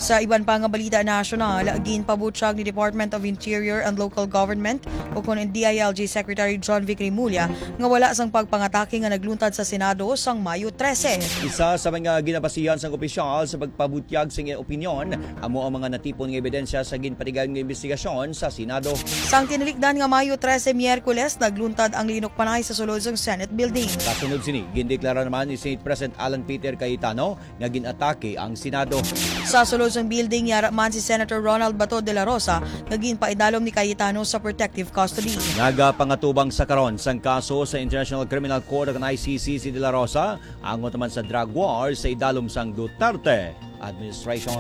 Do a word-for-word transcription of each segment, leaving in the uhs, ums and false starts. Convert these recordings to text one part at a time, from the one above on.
Sa iban pa nga balita nasyonal, ginpabutyag ni Department of Interior and Local Government, ukon D I L G Secretary John Vic Remulla, nga wala sang pagpangatake nga nagluntad sa Senado sang Mayo trese. Isa sa mga ginabasihan sang opisyal sa pagpabutyag sing opinyon amo ang mga natipon nga ebidensya sa ginpatigayon nga investigasyon sa Senado. Sang tinalikdan nga Mayo trese, Miyerkules, nagluntad ang linukpanay sa sulod sang Senate Building. Kasunod sini, gindeklara naman ni Senate President Alan Peter Cayetano nga gin-atake ang Senado. Sa sulod sang building, yara man si Senator Ronald Bato de la Rosa nga ginpaidalom ni Cayetano sa protective custody. Nagapangatubang sa karon sang kaso sa International Criminal Court, ang I C C, si de la Rosa, angot naman sa drug war sa idalom sang Duterte administration.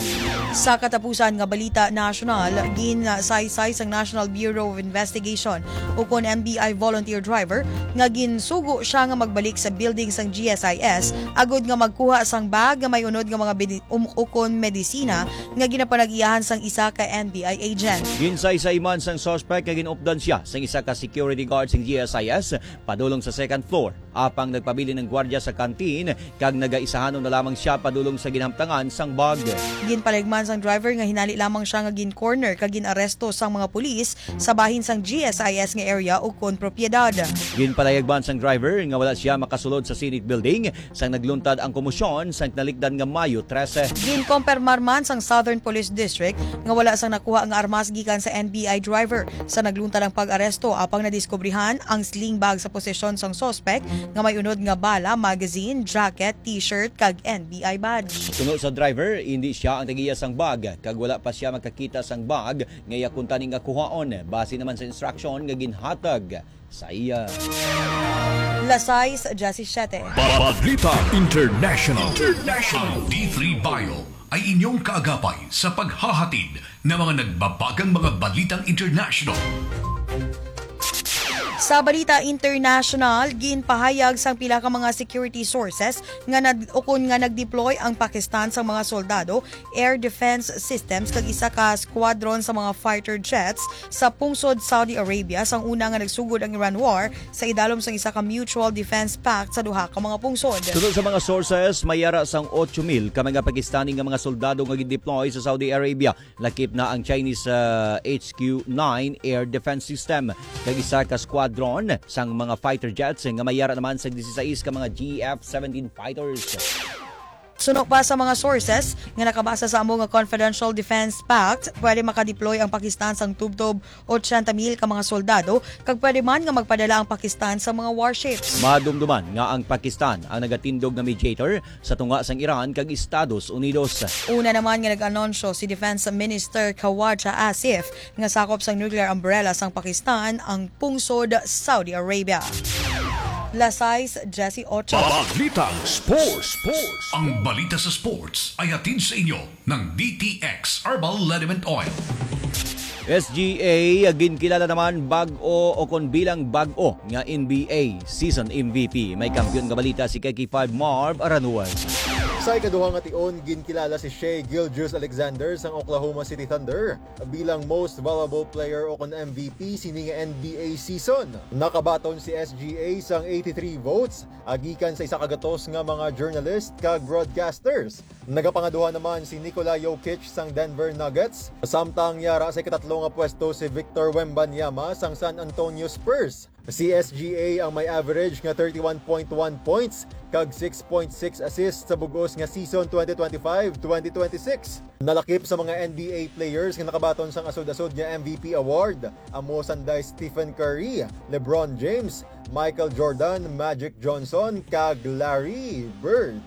Sa katapusan nga balita nasyonal, ginsaysay sang National Bureau of Investigation, ukon N B I volunteer driver, nga ginsugo siya nga magbalik sa building sang G S I S agod nga magkuha sang bag nga may unod nga mga bini-, um, ukon medisina nga ginapanag-iyahan sang isa ka N B I agent. Ginsaysay man sang suspect nga ginupdan siya sang isa ka security guard sang G S I S padulong sa second floor, apang nagpabilin ang gwardiya sa kantin kag nagaisahanon na lamang siya padulong sa ginhamtangan sang bag. Ginpalayag man sang driver nga hinali lamang siya nga gin-corner kag gin-aresto sang mga pulis sa bahin sang G S I S nga area ukon propiedad. Ginpalayag man sang driver nga wala siya makasulod sa Senate Building sang nagluntad ang komosyon sang tinalikdan nga Mayo trese. Ginkompermar man sang Southern Police District nga wala sang nakuha nga armas gikan sa N B I driver sa nagluntad ang pag-aresto, apang nadiskubrihan ang sling bag sa posesyon sang suspek nga may unod nga bala, magazine, jacket, T-shirt, kag N B I badge. Suno sa driver, indi siya ang tagiya sang bag, kag wala pa siya makakita sang bag nga iya kuntani nga kuhaon, base naman sa instruksyon nga ginhatag sa iya. Las sais diyasisiyete. Balita International. International. Ang D three Bio ay inyong kaagapay sa paghahatid ng mga nagbabagang mga balitang international. Sa balita international, ginpahayag sang pila ka mga security sources nga nag-, ukon nga nag-deploy ang Pakistan sang mga soldado, air defense systems, kag isa ka squadron sa mga fighter jets sa pungsod Saudi Arabia sang una nga nagsugod ang Iran war sa idalom sang isa ka mutual defense pact sa duha ka mga pungsod. Suno sa mga sources, may yara sang ocho mil ka mga Pakistani nga mga soldado nga gin-deploy sa Saudi Arabia. Lakip na ang Chinese, ah, H Q nine air defense system, kag isa ka squadron sang mga fighter jets nga may yara naman sa disisais ka mga G F seventeen fighters. Suno pa sa mga sources nga nakabasa sa amo nga confidential defense pact, pwede makadeploy ang Pakistan sang tubtob otsenta mil ka mga soldado, kag pwede man nga magpadala ang Pakistan sa mga warships. Madumduman nga ang Pakistan ang nagatindog nga mediator sa tunga sang Iran kag Estados Unidos. Una naman nga nag-anunsyo si Defense Minister Khawaja Asif nga sakop sang nuclear umbrella sang Pakistan ang pungsod Saudi Arabia. Las sais diyasiyotso. Balitang Sports. Sports. Ang balita sa sports ay hatid sa inyo ng D T X Herbal Liniment Oil. S G A, ginkilala naman bag-o o kon bilang bag-o nga N B A season M V P. May kampiyon nga balita si K K five Marv Aranuan. Sa ikaduha nga tion, ginkilala si Shai Gilgeous-Alexander sang Oklahoma City Thunder bilang Most Valuable Player o kon M V P sini nga N B A season. Nakabaton si S G A sang eighty-three votes, agikan sa isa ka gatos nga mga journalist kag broadcasters. Nagapangaduha naman si Nikola Jokic sang Denver Nuggets, samtang yara sa ikatatlo nga pwesto si Victor Wembanyama sang San Antonio Spurs. Si S G A ang may average nga thirty-one point one points kag six point six assists sa bug-os nga season twenty twenty-five twenty twenty-six. Nalakip sa mga N B A players nga nakabaton sang asod-asod nga M V P award, amo sanday Stephen Curry, LeBron James, Michael Jordan, Magic Johnson, kag Larry Bird.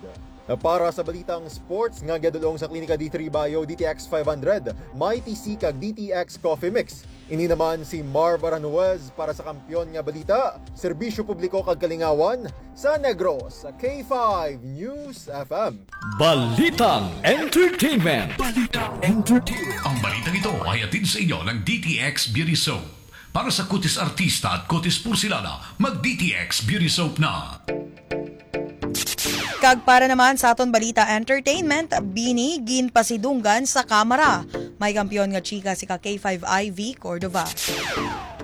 Para sa balitang sports nga ginadul-ong sa Klinika D three Bio, D T X five hundred, Mighty C kag D T X Coffee Mix. Ini naman si Marv Aranuez para sa Kampiyon nga Balita, Serbisyo Publiko kag Kalingawan sa Negros, K five News F M. Balitang Entertainment. Balitang Entertainment. Ang balitang ito ay hatid sa inyo ng D T X Beauty Soap. Para sa kutis artista at kutis porselana, mag D T X Beauty Soap na. Kag para naman sa aton balita entertainment, bini ginpasidunggan sa kamara. May kampiyon nga chika si ka K five Ivy Cordova.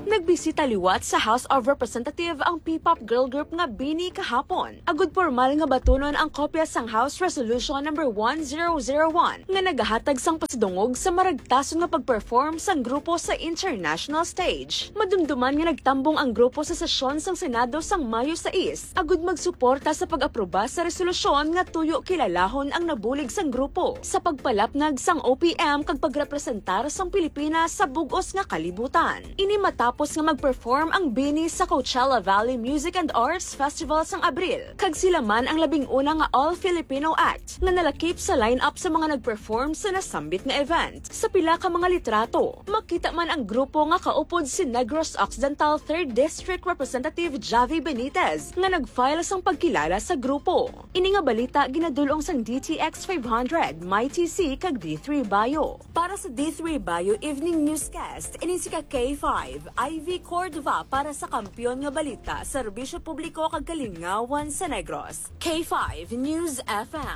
Nagbisita liwat sa House of Representative ang P-pop girl group nga BINI kahapon, agud pormal nga batunon ang kopya sang House Resolution Number One Zero Zero One nga nagahatag sang pasidungog sa maragtason nga pag-perform sang grupo sa international stage. Madumduman nga nagtambong ang grupo sa sesyon sang Senado sang Mayo sais, agud magsuporta sa pag-aproba sa resolusyon nga tuyo kilalahon ang nabulig sang grupo sa pagpalapnag sang O P M kag pagrepresentar sang Pilipinas sa bug-os nga kalibutan. Ini matapos nga mag-perform ang BINI sa Coachella Valley Music and Arts Festival sang Abril, kag sila man ang labing una nga all-Filipino act nga nalakip sa lineup sa mga nag-perform sa nasambit nga event. Sa pila ka mga litrato, makita man ang grupo nga kaupod si Negros Occidental Third District Representative Javi Benitez, nga nag-file sang pagkilala sa grupo. Ini nga balita ginadul-ong sang D T X five hundred, My T C, kag D three Bio. Para sa D three Bio Evening Newscast, ini si ka K five, Ivy Cordova, para sa Kampiyon nga Balita, Serbisyo Publiko kag Kalingawan sa Negros. K five News F M.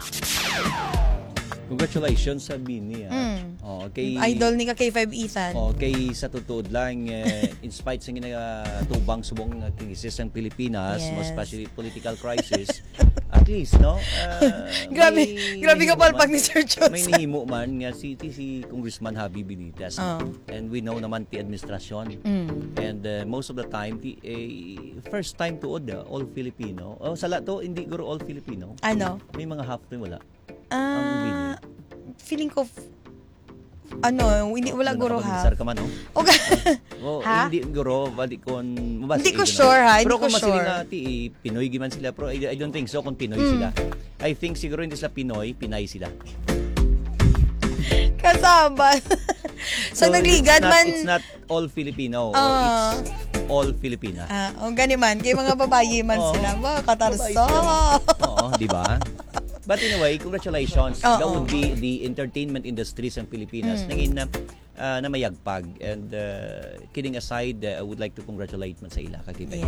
Congratulations sa BINI, ah. Mm. Oh, kay Idol ni ka K five Ethan. Oh, kay sa tutuod lang, eh, in spite sa ginatubang subong nga krisis ang Pilipinas, mo Yes. especially political crisis, at least, no? Ah, Grabe, may grabe ka nahimo palpak man, ni Sir Jose. may nahimo man nga si, si, si Congressman Javi Benitez. Oh. And we know naman ti administrasyon. Mm. And, uh, most of the time, ti, eh, first time tuod, ah, all Filipino. Oh, sala to, hindi guro all Filipino. Ano? May mga half to wala. Ah, Ang BINI. feeling ko, f-, ano, hindi, wala Ano, guro, ha? nakapag-sir ka man, no? O ga- Oh, Ha? hindi guro, bali kon mabasa Hindi ko ito na. sure, ha? Pero Hindi ko kung masiling sure. nga, ti, eh, Pinoy giman sila, pero I, I don't think so kung Pinoy Mm. sila. I think siguro hindi sila Pinoy, Pinay sila. Kasama. So, So, nagligad it's not, man. it's not all Filipino. Ah. It's all Filipina. Ah, o gani man, kay mga babayi man Oo. sila. Ba, katarso. Babayi sila. Oo, di ba? But anyway, congratulations. Oo. That would be the entertainment industry sa Pilipinas. Mm. Nangin na, ah, na mayagpag. And, uh, kidding aside, uh, I would like to congratulate man sa ila, ka K five.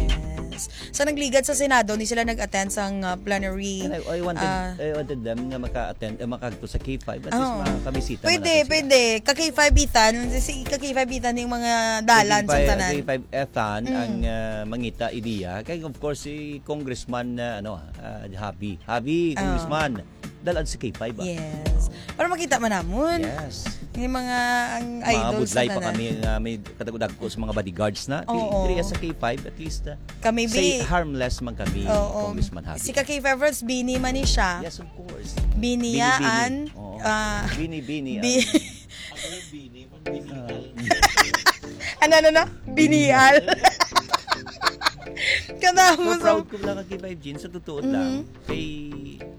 Yes. Sa nagligad sa Senado, ni sila nag-attend sang, uh, plenary, And I, I wanted, ah, I wanted them nga maka-attend, uh, makadto sa K five. At least Oo. makabisita man Pwede, natin sila. pwede. Ka K five Ethan, si ka K five Ethan yung mga dalan K five, sang tanan. K five Ethan Mm. ang, uh, mangita ideya. Kay of course, si Congressman, uh, ano, uh, Javi. Javi, Oo. Congressman. Dalan sa K five, ah. Yes. Para makita man namon. Yes. Yung mga, ang Mga idol sa budlay pa tanan. kami nga may kadagko-dagko sa mga bodyguards na. Di, Oo. diri sa K five, at least, ah, Kami, say bi. harmless man kami, Oo. Congressman Javi. Si ka K five Ronz, BINI man ni siya. Yes, of course. BINI BINI, BINI. yaan, Oo. ah, BINI, BINI, Bi- yaan. Ano, ano, ano? Binial. Kanamo Pero sa proud ko lang kay Five Jeans, sa totoo lang. Mhm. Kay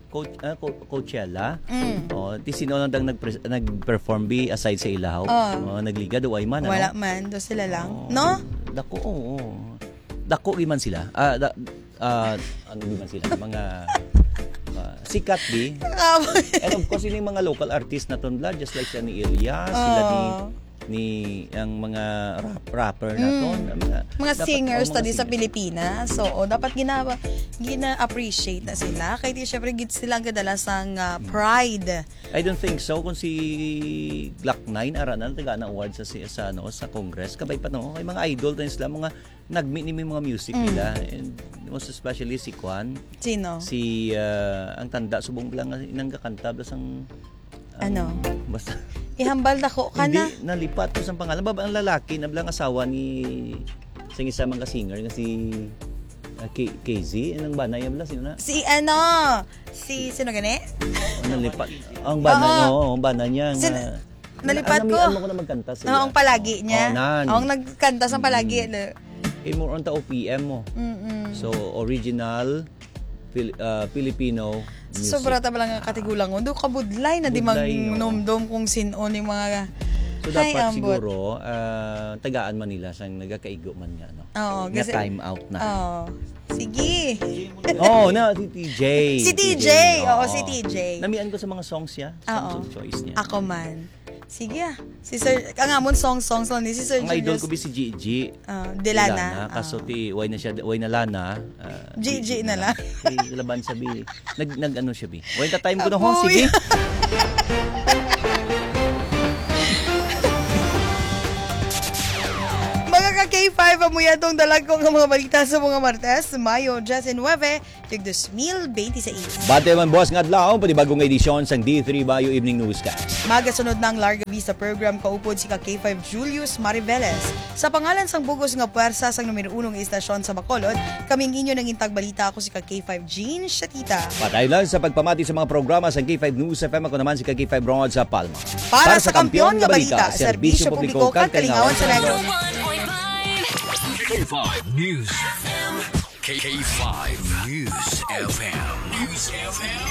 Coach-, ah, Co-, Coachella. Mm. Oh, ti sino lang dang nagpres-, nag-perform bi aside sa ilaw? Oh. Oh, nagligad o ay man, ano? Wala man, do sila lang. Oh, No? dako, oo. Dako gyud man sila. Ah, da-, ah, ano gyud man sila? Mga, ah, sikat, di? Ah, And of course, yun yung mga local artist naton, bla, just like sila ni Elias, sila ni, Oh. ni, ang mga rap-, rapper naton, Mm. ang mga, Mga dapat singers ang mga ta di sa singer. Pilipinas. So, oh, dapat gina-, gina-appreciate na sila. Kay di, syempre, gid sila ang kadala sang, ah, Mm. pride. I don't think so. Kung si Glock nine, ara na, taga na award sa, si-, sa, ano, sa Congress. Kabay pa, no? Kay mga idol din sila, mga nagmi ni mga music Mm. nila. And most especially si Kwan. Sino? Si, ah, ang tanda, subong lang nga inang kakanta, basta ang, ang, Ano? basta Ihambal na ko ka Hindi, na. nalipat ko sa pangalan. Baba ang lalaki, na blang asawa ni, sa isa mga singer, nga si, ah, K-, K Z. Anong bana niya bala? Sino na? Si ano? Si, sino gani? Ang nalipat. Ang bana Oo. niya, oo, ang bana niya Sin-, nga, nalipat ko. Namian mo ko na magkanta sila. Oo, ang palagi niya. Oh, nan. Oo, ang nagkanta sa palagi, Mm. no? Eh, more on ta O P M mo. Mm-mm. So, original Fil-, ah, Filipino music. Sobra ta bala nga katigulangon. Do kabudlay na di Budlay, no? mangnumdom kung sin-o ni mga So, Hay, dapat ambot. siguro, ah, tagaan man nila sang nagakaigo man nga, no? Oo, Nga kasi time out na. Oo. Sige. Oo, na, si T J. Si T J, oo, Oo. si T J. Namian ko sa mga songs niya, songs Oo. of choice niya. Ako man. Sige, ah. Si Sir, ang amon song, songs lang ni si Sir Ang idol Julius. ko bi si G G. Ah, Delana. Delana. Kaso Ah. ti, why na siya, why na Lana? Ah, G G G G na na lang. lang. Kay laban sa bi. Nag-, nag-ano siya bi. Why na time ko na ho, Apoy. sige. Mga ka-K K five, amo yadtong dalagko nga mga balita sa mga Martes, Mayo disinuebe, tuig dos mil benti sais. Bati man, buwas nga adlaw, panibagong edisyon sang D three Bayo Evening Newscast. Magasunod na ang Larga Vista Program, kaupod si ka K five Julius Mariveles. Sa pangalan sang bugos nga puwersa sang numero uno nga istasyon sa Bacolod, kami ang inyo nangintag balita, ako si ka K five Jean Shatita. Patay lang sa pagpamati sa mga programa sang K five News F M, ako naman si ka K five Ron sa Palma. Para sa kampiyon nga balita, serbisyo publiko kag kalingawan sa Negros. K five News F M. K five News F M. News F M.